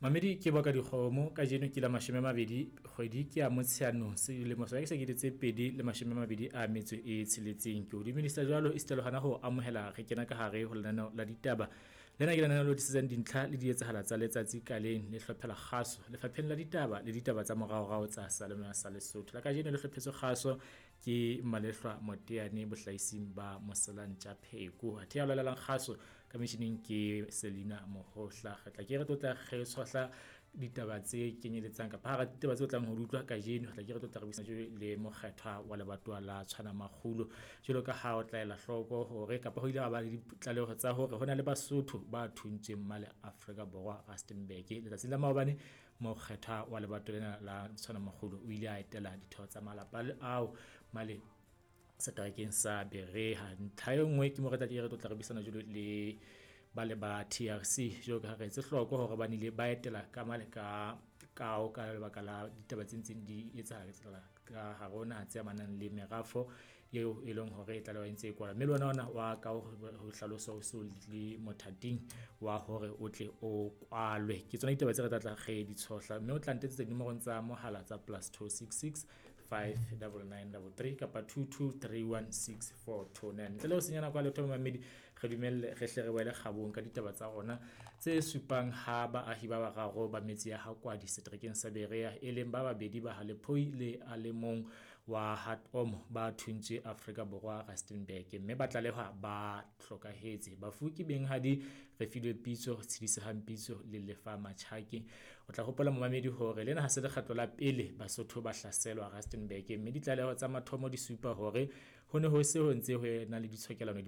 Mamedi ke boka dikgomo kajeno ke la 20 kgwedi ke ya Motsheanong selemo sa ke 2026. Ke o dumedisa jwalo esita le hona ho amohela re kena ka hare ho lenaneo la ditaba. Lena ke lenaneo le tlisetsang dintlha le dietsahala tsa letsatsi ka leng le hlophela kgaso lefapheng la ditaba le ditaba tsa moraorao tsa Salema sa Lesotho. La kajeno le hlophetswe kgaso ke Malehlwa Moteane bohlaising ba Moselantja Pheko. Athe ya lwalelang kgaso ka metjhining ke Selina Mohohla. Re tla ke re tlotla re tshohla ditaba tse kenyeletsang kapa hara ditaba tse tlang ho di utlwa kajeno. Re tla ke re tlotla re buisana le mokgethwa wa lebatowa la Tshwana Makgulo. Jwalo ka ha o tla ela hloko hore kapa ho ile ha ba le ditlaleho tsa hore ho na le Basotho ba thuntsweng male Afrika Borwa Rustenburg. Letsatsing la maobane mokgethwa wa lebatowa lena la Tshwana Makgulo o ile a etela ditho tsa malapa ao male seterekeng sa Berea. Ntlha e nngwe ke mo re tla ke re tlotla re buisana jwalo le ba le ba TRC jwalo ka ha re etse hloko hore ba nile ba etela ka male ka kao ka lebaka la ditaba tse ntseng di etsahala ka hare ho naha tse amanang le merafo eo e leng hore e tlalewa e ntse e kwalwa. Mme le ona ona wa ka ho hlalosa o so le mothating wa hore o tle o kwalwe. Ke tsona ditaba tse re tla re di tshohla, mme o tla ntetsetsa dinomorong tsa mohala tsa +266 59933 kapa 22316429. Ntle le ho senya nako ya letho mamedi, re dumelle re hle re boele kgabong ka ditaba tsa rona tse supang ha baahi ba bararo ba metse ya Hakwadi seterekeng sa Berea, e leng ba babedi ba Halephoi le a le mong wa Hatomo ba thuntswe Afrika Borwa Rustenburg, mme ba tlalehwa ba hlokahetse. Bafu ke benghadi Refilwe Pitso, Tshedisehang Pitso le Lefa Machake. O tla hopola momamedi hore lena ha se lekgetlo la pele Basotho ba hlaselwa Rustenburg, mme ditlaleho tsa mathomo di supa hore ho ne ho se ho ntse ho ena le ditshokelano.